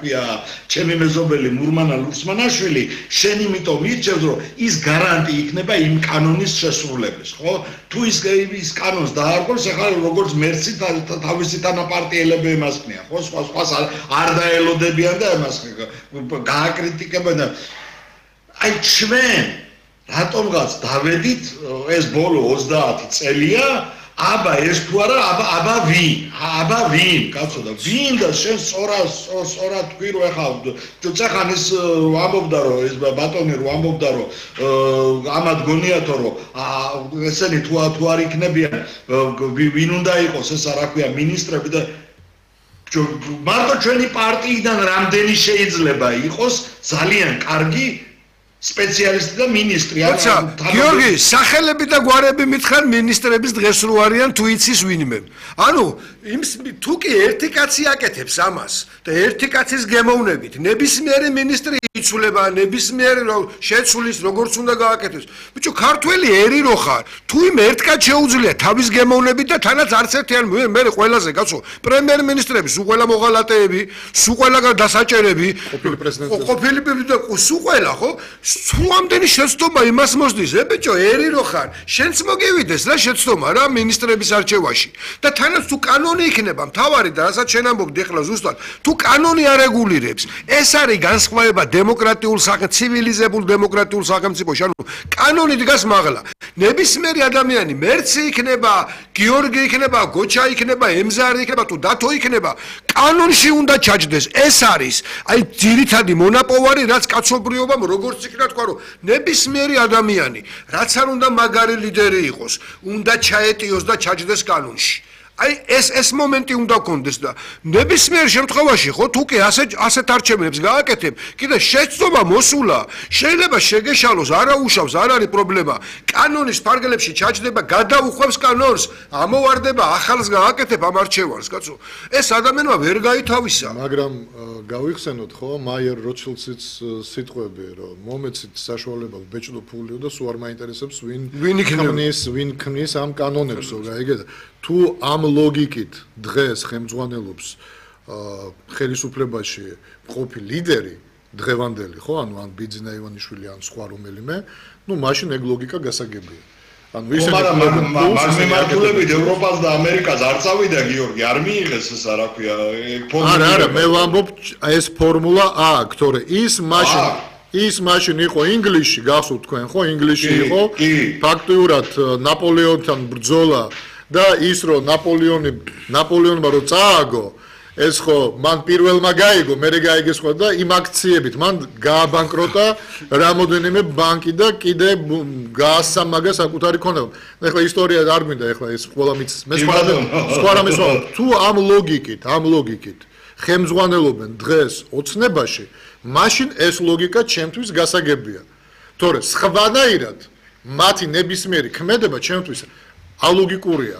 ქვია, ჩემი მეზობელი მურმანა ლურსმანაშვილი, შენ იმიტომ მირჩევს, რომ ის გარანტი იქნება იმ კანონის შესრულების, ხო? თუ ის კანონს დაარღვევს, ახლა როგორც მერცი თავისი თანაპარტიელები ემასქნიან, ხო? სხვას არ დაელოდებიან და ემას გააკრიტიკებენ და აი ჩვენ რატომღაც დავედით ეს ბოლო 30 წელია აბა ეს თუ არა აბა ვინ კაცო და ვინ და შენ სწორად თქვი რომ ახლა წახან ეს ამბობდა რომ ეს ბატონი რომ ამბობდა რომ ამად გონიათო რომ ესენი თუ არ იქნებიან ვინ უნდა იყოს ეს რა ქვია მინისტრები და მარტო ჩვენი პარტიიდან რამდენი შეიძლება იყოს ძალიან კარგი სპეციალისტი და მინისტრი აცა გიორგი სახელები და გვარები მითხარ მინისტრების დღეს რო არიან თუ იცის ვინმე ანუ თუ კი ერთი კაცი აკეთებს ამას და ერთი კაცის გემოვნებით ნებისმიერი მინისტრი იცვლება ნებისმიერი შეცვლის როგორც უნდა გააკეთოს ბიჭო ქართველი ერი რო ხარ თუ იმ ერთ კაცს შეუძლია თავის გემოვნებით და თანაც არც ერთი არ მე ყველაზე კაცო პრემიერ-მინისტრები სულ ყველა მოღალატეები სულ ყველა დასაჭერები ყოფილი პრეზიდენტი და სულ ყველა ხო სულ ამდენი შეცდომა იმას მოსდის ბიჭო ერი რო ხარ შენც მოგივიდეს რა შეცდომა რა მინისტრების არჩევაში და თანაც თუ კანონი იქნება მთავარი და რასაც შენ ამბობდი ახლა ზუსტად თუ კანონი არეგულირებს ეს არის განსხვავება დემოკრატიულ ცივილიზებულ დემოკრატიულ სახელმწიფოში ანუ კანონი დგას მაღლა ნებისმიერი ადამიანი მერცი იქნება გიორგი იქნება გოჩა იქნება ემზარი იქნება თუ დათო იქნება კანონში უნდა ჩაჯდეს ეს არის აი ძირითადი მონაპოვარი რაც კაცობრიობამ როგორც იქნება თქვა რომ ნებისმიერი ადამიანი რაც არ უნდა მაგარი ლიდერი იყოს უნდა ჩაეტიოს და ჩაჯდეს კანონში აი ეს მომენტი უნდა გქონდეს და ნებისმიერ შემთხვევაში ხო თუ კი ასეთ არჩევნებს გააკეთებ კიდე შეცდომა მოსულა შეიძლება შეგეშალოს არაუშავს არ არის პრობლემა კანონის ფარგლებში ჩაჯდება გადაუხვევს კანონს ამოვარდება ახალს გააკეთებ ამ არჩევანს კაცო ეს ადამიანმა ვერ გაითავისა მაგრამ გავიხსენოთ ხო მაიერ როჩილდსის სიტყვები რომ მომეცით საშუალება ბეჭდო ფულიო და სულ არ მაინტერესებს ვინ ქმნის ამ კანონებს ხო გაიგე თუ ამ ლოგიკით დღეს ხელმძღვანელობს ხელისუფლებაში ყოფილი ლიდერი დღევანდელი ხო ანუ ან ბიძინა ივანიშვილი ან სხვა რომელიმე ნუ მაშინ ეგ ლოგიკა გასაგებია ანუ ისინი მართლებით ევროპას და ამერიკას არ წავიდა გიორგი არ მიიღეს ეს რა ქვია არა მე ვამბობ ეს ფორმულა აქვს თორე ის მაშინ იყო ინგლისში გახსოვთ თქვენ ხო ინგლისში იყო ფაქტიურად ნაპოლეონთან ბრძოლა და ის რომ ნაპოლეონმა რო წააგო ეს ხო მან პირველმა გაიგო მერე გაიგეს ხო და იმ აქციებით მან გააბანკროტა რამოდენიმე ბანკი და კიდე გაასამაგა საკუთარი ქონება ეხლა ისტორია არ გვინდა ეხლა ეს ყველა მის მე სხვა რამეს თუ ამ ლოგიკით ხელმძღვანელობენ დღეს ოცნებაში მაშინ ეს ლოგიკა ჩემთვის გასაგებია თორე სხვანაირად მათი ნებისმიერი ქმედება ჩემთვის ალოგიკურია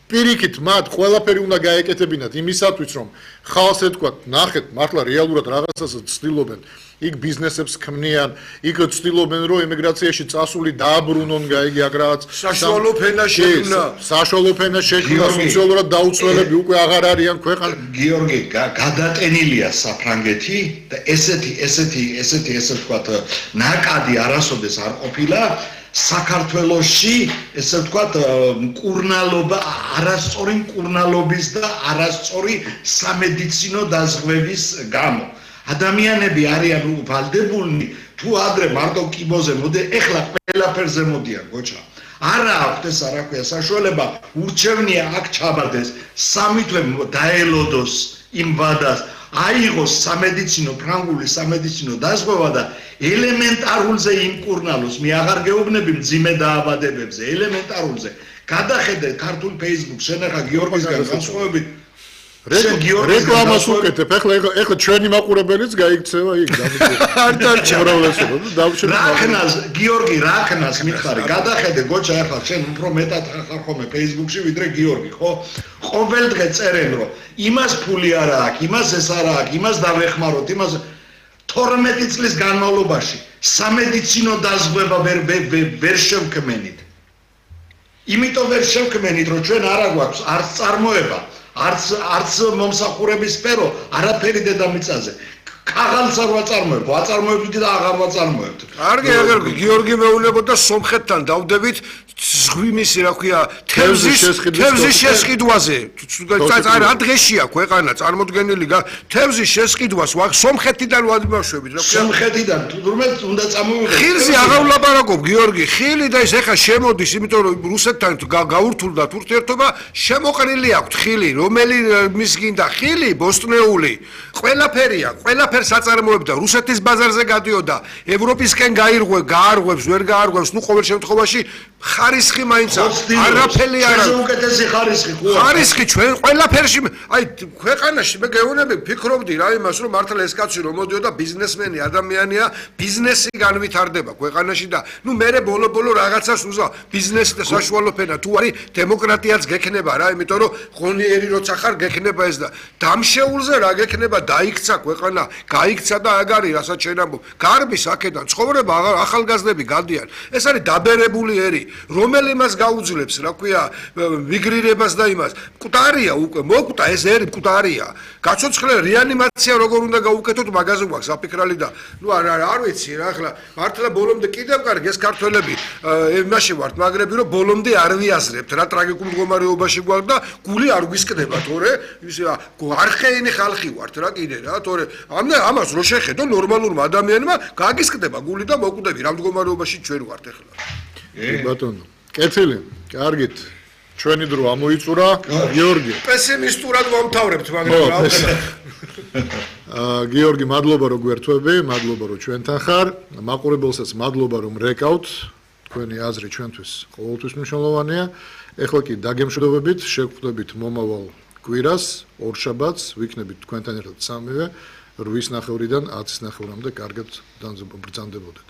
პირიქით მათ ყველაფერი უნდა გაეკეთებინათ იმისათვის რომ ხალხს ეთქვათ ნახეთ მართლა რეალურად რაღაცას ცდილობენ იქ ბიზნესებს ქმნიან იქ ცდილობენ რომ ემიგრაციაში წასული დააბრუნონ გაიგი აქ რაღაც საშუალო ფენა შექმნა სოციალურად დაუცველები უკვე აღარ არიან ქვეყანა გიორგი გადატენილია საფრანგეთი და ესეთი ვთქვათ ნაკადი არასოდეს არ ყოფილა საქართველოში ესე ვთქვათ მკურნალობა არასწორი მკურნალობის და არასწორი სამედიცინო დაზღვევის გამო ადამიანები არიან ვალდებულნი თუ ადრე მარტო კიბოზე მოდი ეხლა ყველაფერზე მოდიან გოჩა არა აქვს ეს რა ქვია საშუალება ურჩევნია აქ ჩაბარდეს სამი თვე დაელოდოს იმ ვადას აიღოს ფრანგული სამედიცინო დაზღვევა და ელემენტარულზე იმკურნალოს მე აღარ გეუბნები მძიმე დაავადებებზე ელემენტარულზე გადახედე ქართულ Facebook-ს შენ ახლა გიორგისგან განსხვავებით რეკლამას უკეთებ ეხლა ჩვენი მაყურებელიც გაიქცევა იქ რახნას გიორგი რახნას მითხარი გადახედე გოჩა ახლა შენ უფრო მეტად ხარ ხოლმე Facebook-ში ვიდრე გიორგი ხო ყოველდღე წერენ რომ იმას ფული არა აქვს იმას ეს არა აქვს იმას დავეხმაროთ იმას 12 წლის განმავლობაში სამედიცინო დაზღვევა ვერ შევქმენით იმიტომ ვერ შევქმენით რომ ჩვენ არა გვაქვს არც წარმოება არც მომსახურების სფერო, არაფერი დედამიწაზე. ქაღალდს არ ვაწარმოებ, ვაწარმოებთ და აღარ ვაწარმოებთ. კარგი, გიორგი მეუბნებოდა სომხეთთან დავდებით ზღვიმისი, რა ქვია, თევზის შესყიდვაზე. რა დღეშია ქვეყანა წარმოდგენილი თევზის შესყიდვას სომხეთიდან ვადმევშებით, რა ქვია. სომხეთიდან თურმე უნდა წამოვიღეთ. ხილზე აღარ ვლაპარაკობ, გიორგი, ხილი და ის ეხა შემოდის, იმიტომ რომ რუსეთთან გაურთულდათ ურთიერთობა, შემოყრილი აქვს ხილი, რომელი მის გინდა ხილი, ბოსტნეული, ყველაფერია, ყველაფერს აწარმოებდა, რუსეთის ბაზარზე გადიოდა, ევროპისკენ გაარღვევს, ვერ გაარღვევს, ნუ ყოველ შემთხვევაში ხარისხი მაინც არაფერი არ არის. უკეთესი ხარისხი ხო? ხარისხი ჩვენ ყველაფერში, აი ქვეყანაში მე გეუბნები, ფიქრობდი რა იმას, რომ მართლა ეს კაცი რომ მოდიოდა ბიზნესმენი ადამიანია, ბიზნესი განვითარდება ქვეყანაში და ნუ მე ბოლო რაღაცას უზა ბიზნესი და საშუალო ფენა თუ არის დემოკრატიაც გექნება რა, იმიტომ რომ ღონიერი როცა ხარ გექნება ეს და დამშეულზე რა გექნება, დაიქცა ქვეყანა, გაიქცა და აგარი, რასაც შენ ამბობ. გარბის აქედან ცხოვრება ახალგაზრდები გადიან. ეს არის დაბერებული ერი, რომელი მას გაუძლებს, რა ქვია, მიგრირებას და იმას. მკვდარია უკვე, მოკვდა ეს ერი მკვდარია. გაცოცხლე რეანიმაცია როგორ უნდა გაუკეთოთ, მაგაზე გვაქვს საფიქრალი და ნუ არ ვიცი რა, ახლა მართლა ბოლომდე კიდევ კარგი ეს ქართველები იმაში ვართ, მაგრები რომ ბოლომდე არ ვიაზრებთ რა ტრაგიკულ მდგომარეობაში გვაქვს და გული არ გვისკდება, თორე ის არხეინი ხალხი ვართ რა კიდე რა, თორე ამას რო შეხედო ნორმალურმა ადამიანმა გაგისკდება გული და მოკვდები რა მდგომარეობაში ჩვენ ვართ ახლა. ბატონო, კეთილი, კარგით. ჩვენი დრო ამოიწურა, გიორგი. პესიმისტურად მომთავრებთ, მაგრამ რა გიორგი, მადლობა რომ გვერთვები, მადლობა რომ ჩვენთან ხარ. მაყურებელსაც მადლობა რომ რეკავთ. თქვენი აზრი ჩვენთვის ყოველთვის მნიშვნელოვანია. ეხლა კი დაგემშვიდობებით, შეგხვდებით მომავალ კვირას, ორშაბათს, ვიქნებით თქვენთან ერთად სამივე 8:00-დან 10:00-მდე კარგად ბრძანდებოდეთ.